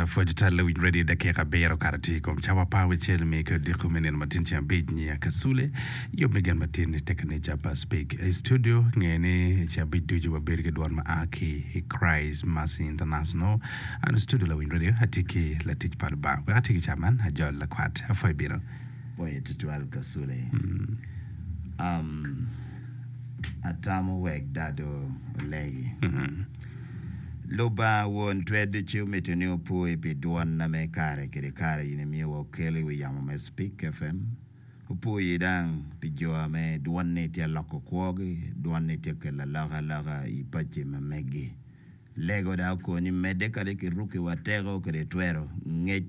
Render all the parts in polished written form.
Pwoc tal lawiny radio dakika abiro okato tye i kom cawa apar wicel me ki odiko me nino matin ceng abic nyiya Kasule yub me gen matin i te kanica pa Speak i studio nge ni i ceng abic ducu wabedo ki dwon ma a ki i Christ Mercy International an i studio lawiny radio atye ki latic pa Lubanga wek ati ki ca man ajol lakwat apwoyo bino. Pwoyo tutwal Kasule. Um, atamo wek dado olegi. Lubanga Won Twer Ducu mito ni opwoyi pi dwonna me kare kede kare in imiyo wa okelo i wi yamo me Speak FM. Opwoyi dang pi jo ame dwonni tye aloko kwogi, dwonni tye kelo alokaloka i paci ma megi. Lego dang okoni medde kadi ki ruki wa teko kede twero ngec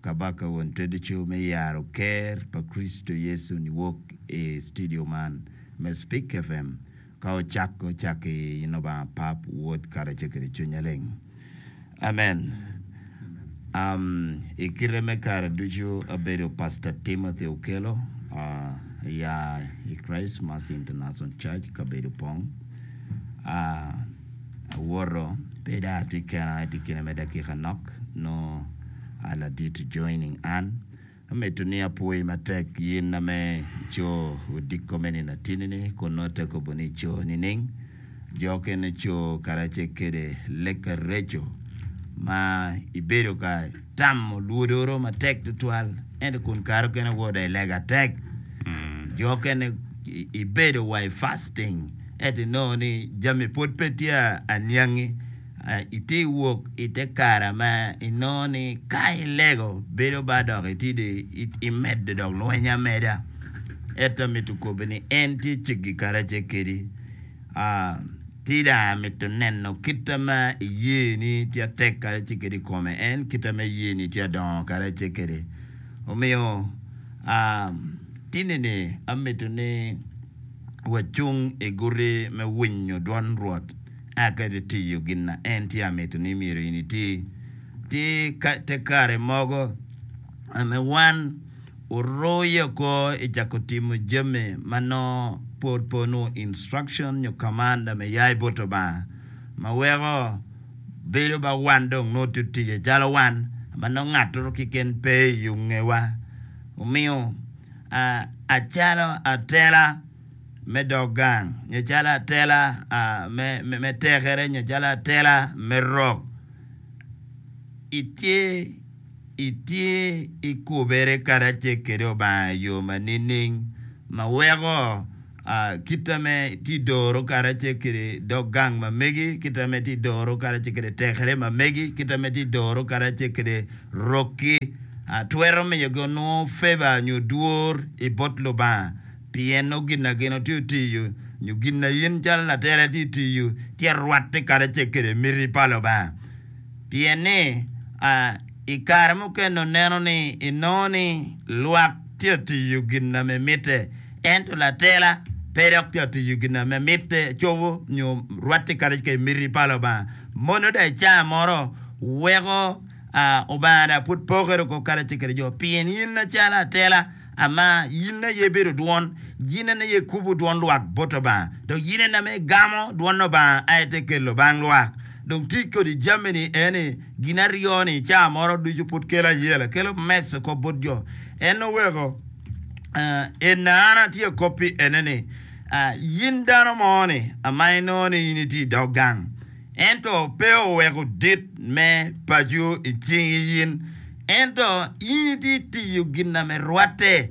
Kabaka Won Twer Ducu me yaro Ker pa Kricito Yecu niwok i studio man me Speak FM. Ka ocako, cak i in Lubanga Pap, Wod, karacel kede Cwiny Maleng. Amen. Um, i kite me kare ducu abedo Pastor Timothy Okello, uh, ya i Christ Mercy International Church, kabedo Pong. Uh, awoto, pe dong atye kena, atye kine me dakika nok, nongo a ladit joining an. Amito ni apwoyi matek in ame ico odiko me nino atini-ni, kun nongo te kobo ni ico nining? Jo okene co karacel kede lek areco ma ibedo ka tamo lwodoro matek tutwal, ento kun kare okene wod i lega tek. Jo okene ibedo wa i fasting, ento inongo ni jami pwod pe tye aniangi. Itye wok i te kare ma inongo ni ka ilego bedo ba dok itye dong imedo dok lweny ameda. Ento amito kobbe ni en tye ceggi karacel kedi. Tye dong amito neno kite ma iye ni tye atek karacel kede i kome en kite ma iye ni tye adongo karacel kede. Omiyo tini-ni amito ni wacung i guti me winyo dwon Rwot. A Ka itye tiyo gin na en tye amito ni myero in iti, tye te kare mogo me wan oruyo oko i cako timo jami ma nongo pwod pe onongo instruction nyo command me ya i bot Lubanga ma weko bedo ba wan dong nongo tye otiyo calo wan ma nongo ngatoro keken pe i yungewa. Omiyo acalo atela. me dog gang, nyo calo atela me tekere, nyo calo atela me rok. Itye itye ikubere karacel kede Obanga i yo ma nining ma weko kite me tye doro karacel kede dog gang ma megi, kite me tye doro karacel kede tekere ma megi, kite me tye doro karacel kede rokki twero miyo gi onongo favor nyo dwor i bot Lubanga. Pien nongo gin na gin otye otiyo, nyo gin na in calo latela itye tiyo, tye rwatte karacel kwede miti pa Lubanga. Pien ni, i kare mukene oneno ni inongo ni lwak tye tiyo gin na me mitte, ento latela pe dok tye tiyo gin na me mitte cobo nyo rwatte karacel kwede miti pa Lubanga. Mono dong i caa moro weko Obanga dong pud pokere oko karacel kwede jo, pien in macalo atela, Ama in aye ibedo dwon, in en aye ikubo dwon lwak bot Lubanga, dok in en ame igamo dwon Lubanga aye te kelo bang lwak. Dong tic kodi jami-ni eni gin aryo-ni ca moro ducu pud kelo ayela, kelo mess oko bot jo. En oweko en an atye akoppi ene ni, in dano mo ni ama inongo ni in itye i dog gang, Ento pe oweko dit me paco i cingi in, ento in itye tiyo gin na me rwatte,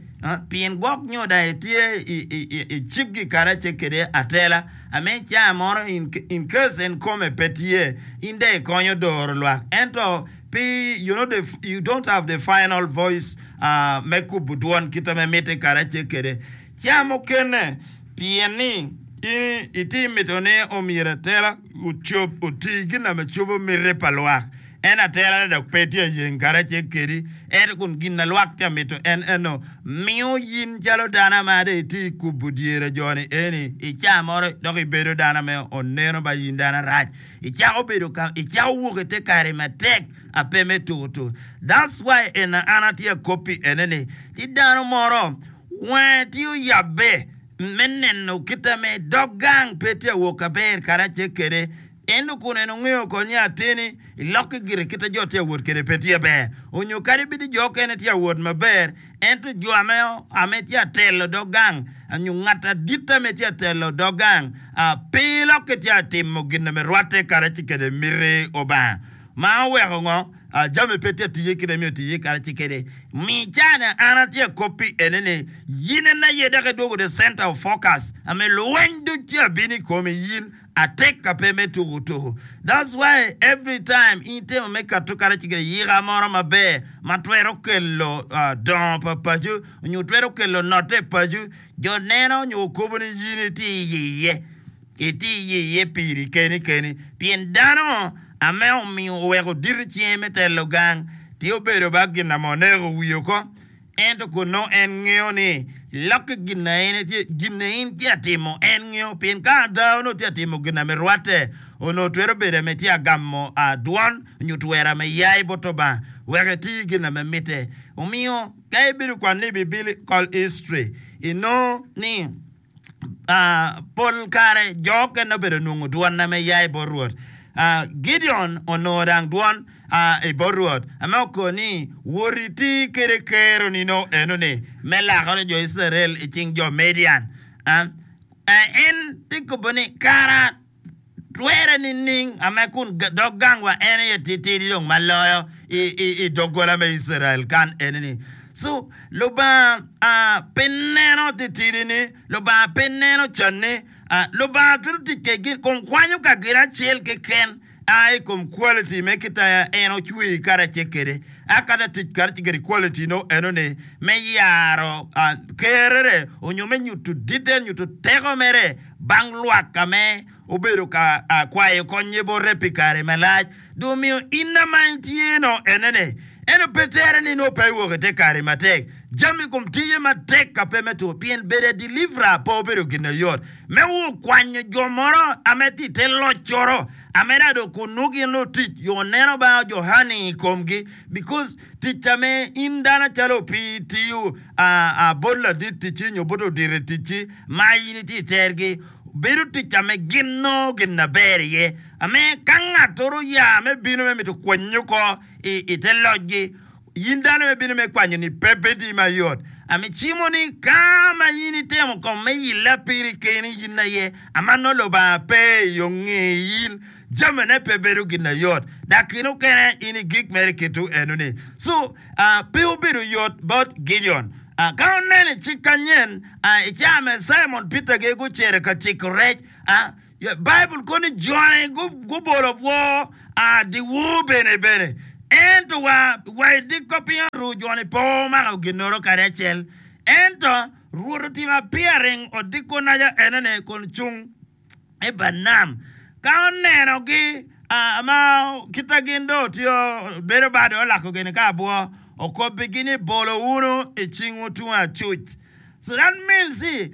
pien gwok nyo dong itye i ciggi karacel kede atela, ame ca moro in case en kome pe tye, in dong ikonyo doro lwak, ento pe you know the you don't have the final voice me kubo dwon kite me mitte karacel kede. Ca mukene, pien ni in itye mito ni omyero atela ocob oti gin na me cobo miti pa lwak, en atela-ni dok pe tye ayeng karacel kedi, ento kun gin na lwak tye mito en eno, miyo in calo dano ma dong itye i kubo dyere jo-ni eni, i ca moro dok ibedo dano me oneno ba in dano arac, icako bedo ka icako wok i te kare matek ape me tukutuku. That's why ena an atye akoppi ene ni, tye dano moro Wange tye oyabbe me neno kite me dog gang pe tye awok aber karacel kwede. Ento kun en ongeyo oko ni ateni ilokke gire kit a jo tye awot kwede pe tye ber, onyo kadi bed ni jo okene tye awot maber, ento jo ame tye atelo dog gang nyo ngat adit ame tye atelo dog gang pe ilokke tye atimo gin ame rwatte karaci kede miti Obanga. Ma oweko ngo? Jami pe tye atiye kit ame otiye karaci kede. Mi cani an atye akoppi ene ni yin en aye dok idwogo the center of focus ame luweny duc tye abino ikomi yin. Atek ka pe me tuku tuku. That's why every time in itemo me kato kadi ci gire yika moro maber ma twero kelo dongo pa paco nyo twero kelo note i paco, jo neno nyo kobo ni in itye iye, itye iye piri keni keni. Pien dano ame omiyo oweko dito cinge me telo gang tye obedo ba gin ame oneko wiye oko. Ento kun nongo en ngeyo ni lokke gin na en etye, gin na in tye atimo, en ngeyo. Pien ka ada onongo tye atimo gin na me rwatte, onongo twero bedo ame tye agamo dwon nyo twero ame yai bot Lubanga wek eti gin na me mitte. Omiyo ka ibedo kwano ni Biblical history, inongo ni Pol kare jo okene obedo nongo dwon ame ya i bot Rwot. Gideon onongo dang dwon i bot Rwot ame oko ni, Wot iti kede keroni no enoni me lakone jo Icrael i cing jo Midian. En tye kobo ni, Kara Twere nining ame kun dog gangwa en aye titidi dong ma loyo i doggola me Icrael kan eni-ni? So, Lubanga pe neno titidi-ni, Lubanga pe neno can-ni. Lubanga twero tic kwedgi kun kwanyo ka gin acel keken a i kom quality me kit a en ocweyi karacel kwede, a kata tic karacel kwede quality no eno-ni me yaro kerere onyo me nyuto ditte, nyuto teko mere bang lwak ka me obedo ka kwayo konnye bote pi kare malac. Dong omiyo in ma itye no enene, ento pe tere ni nongo pe iwok ite kare matek. Jami kom tiye matek ka pe me two, pien bedo a deliverer pe obedo gin ayot. Me wo kwanyo jo moro ame tye ite loccoro, ame dok dong kun nongo gin nongo tic yo neno ba Johani i komgi, because tic ame in dano calo opii itiyo bot ladit ticci nyo bot odito i ticci, Ma in itye i tergi, bedo tic ame gin nongo gin maber iye, ame ka ngattoro oya me bino me mito kwanyi oko i te locgi, in dano me bino me kwanyo-ni pe bedi mayot. Ame cimo ni ka ma in itemo kong me yilla piri keni in aye, ama nongo Lubanga pe i yo nge in, jamine pe bedo gin ayot, dok kine okene in igik mere kitu enoni. So, pe obedo yot bot Gideon. Ka oneno i cik kanyen, i caa me Cimon Peter-gi gucito ka ciko rec, Baibul kono ni jone gubolo obwo dyewor bene bene, ento wa i dyekor piny oru joni pe omako ginnoro kadi acel. Ento Rwot otimo appearing odiko naca enoni kun cung i but nam. Ka onenogi ma kita gin dong otiyo bedo bade olako gini ka abwo, okobbigi ni, Bolo wunu i cingwu tung acuc. So that means ni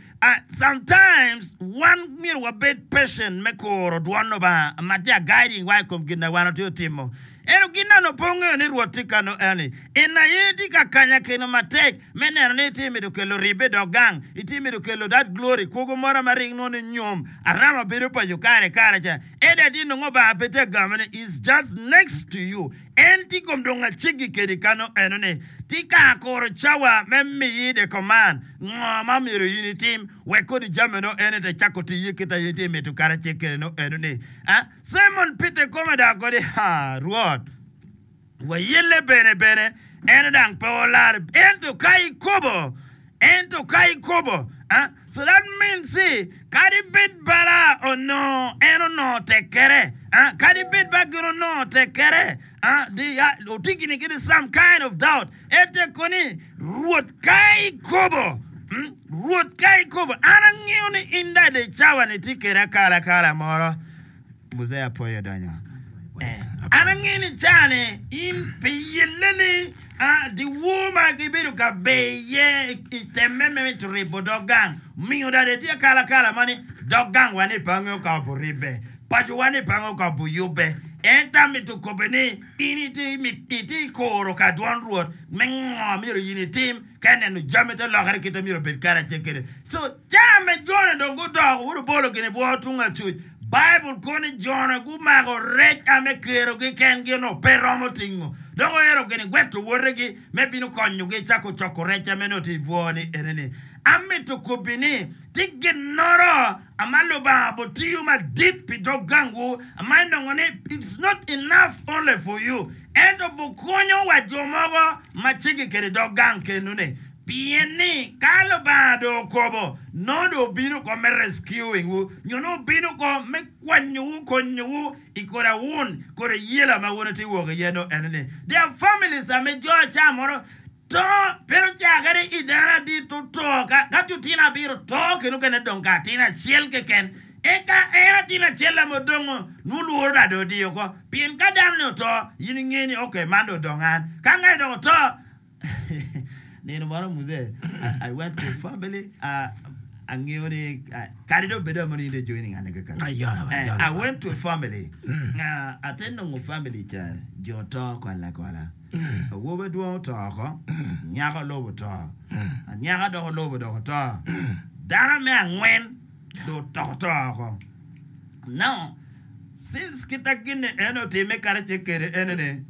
sometimes wan myero wabed patient me kuro dwon Lubanga ma tye a guiding wa i kom gin ma wan watye timo. Ento gin nongo pe ongeyo ni Rwot tye kano eni. En aye tye ka kanya keno matek me neno ni itye mito kelo ribbe dok gang, itye mito kelo that glory, kwogo moro ma rik nongo ni nyom, arama bedo paco kare kare ca. Ento atir nongo Lubanga pe tye ka gamo ni is just next to you. En tye kom dong aceggi kedi kano eno ni tye ka kuro cawa me miyi the command ngo ma myero in itim wek kodi jami no eno te cako tiye kit aye itye mito kare acel kede no eno ni. Cimon Peter kome dok kodi, Ha, Rwot, wayelle bene bene, en dang pe olar, ento ka ikobo, ento ka ikobo. Ah, so that means ni, kadi bed bala onongo en onongo tek kere, ah, kadi bed ba gin onongo tek kere, ah, di, ah, otye gini kidi some kind of doubt, en tye koni, Rwot, ka ikobo, mm, Rwot, ka ikobo, an angeyo ni in dade i cawa-ni itye kede akalakala moro. Muzee Apoyo odonyo. Eh, an angeyo ni cawa-ni in pi yelle-ni, ah, dyewor ma gibedo ka ber iye i temme me mito ribo dog gang, omiyo dade itye akalakala mo ni dog gangwa ni pe angeyo ka oburibbe, pacowa ni pe angeyo ka obuyubbe. Ento amito kobbe ni in itye itye kuro ka dwon Rwot me ngo myero in itim. Ka ineno jami te lokere kite myero obed karacel kwede. So, ca me jone dong gudoko wun obolo gin i bwo tung acuc. Baibul kono ni jo-nu gumako rec a me kerogi kengi onongo pe romo tingo, dok oero gin gweto wotegi me bino konyogi cako coko rec ame nongo tye i bwo-ni ene-ni. Amito kobbi ni, tye ginnoro ama Lubanga botiyo madit pi dog gangwu ama inongo ni it's not enough only for you ento bokonyo wa jo mogo ma cegi kede dog gang kenu-ni. Pien ni ka Lubanga dong okobo, nongo dong obino oko me rescuing wu, nyo nongo obino oko me kwanyowu, konyowu i kodi awun, kodi ayela ma wun wutye wok iye nongo ene ni. There are families ame jo aca moro to, pe ocakere i dano adit oto, ka, ka tye otino abiro to kendo okene dong ka atin acel keken. Eka en atin acel ame odongo, nongo lworo dong dong odiyo oko. Pien ka dano ni oto, in inge ni okay man dong odong an. Ka ngati dong oto, Nino moro muzee, I went to family, uh, angeyo ni uh, kadi dong bedo amo ni in joining an keken. Ayono, Eh, ayono. I went to a family. Uh, ate nongo family ca jo to kola kola. Awobe dwong oto oko, nyako lobo oto. Anyaka dok olobo dok oto. Dano me angwen dong oto oto oko. Now, since kita gin en otime karacel kede ene-ni,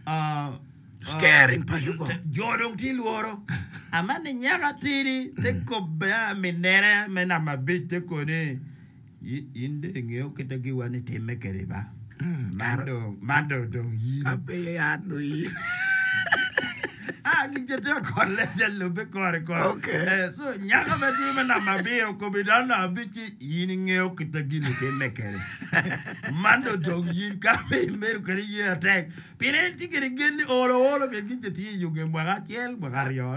uh, Scaring pa Yugo. Jo dong tye lworo. Aman ni nyako atidi te kobbe a minere me namba abic te koni in dong ingeyo kite giwa ni timme kede ba. Man dong man dong dong in. Ape an dong in. Ah gin tye ka kole ja lubbe kore kore. Okay. Eh, so nyako ma tye me namba abiro okobo i dano namba abic ci in ingeyo kite gini timme kede. Man dong dong in ka pe imedo kede ye atek. Pien en tye kwede gen ni olo olo pien gin ca tye i yo nge mwaka acel, mwaka aryo,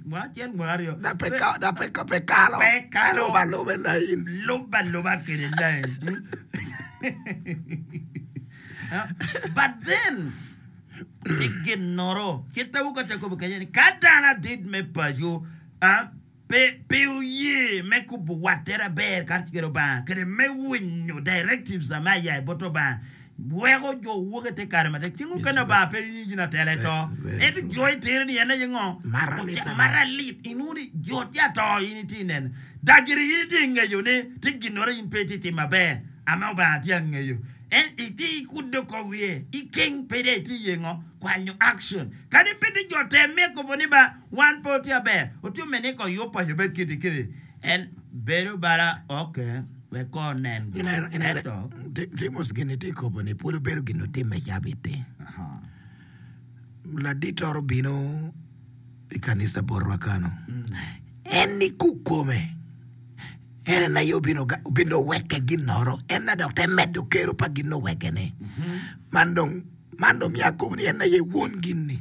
mwaka acel, mwaka aryo. Dok pe ka- dok pe ka- pe kalo. Pe kalo. Lub aluba i lain. Lub aluba kwede lain. But then, tye ginnoro, kit awoka tye akobo kenyo ni ka dano adit me paco, ah, Pe, pe oye me kubo watte aber kacel ki Lubanga kede me winyo directives ame aya i bot Lubanga weko jo wok i te kare matek. Ceng mukene Lubanga pe winyo gin atela i to. Ento jo itere ni en aye ngo? Mara lit. Inwongo ni jo tye ato in itye ineno. Dagiri in itye ingeyo ni tye ginore in pe itye timo maber ame Lubanga tye angeyo. En itye ikudde oko wiye ikeng pe dong itye iye ngo? Kwanyo action. Kadi bed ni jo temme kobo ni ba Wan pe watye aber, watye me ni ko yub paco obed kiti kiti. En bedo bala ok wek ko onen go. Ineno, ineno, Ento, Timos gin itye kobo ni pwod obedo gin otimme cabit-ti. Ladit oro obino i kanisa botwa kano. En ni kukome, en en aye obino ga- obino oweke ginnoro, en na dok te medo kero pa gin oweke-ni. Man dong, man dong myero akob ni en aye won gin-ni.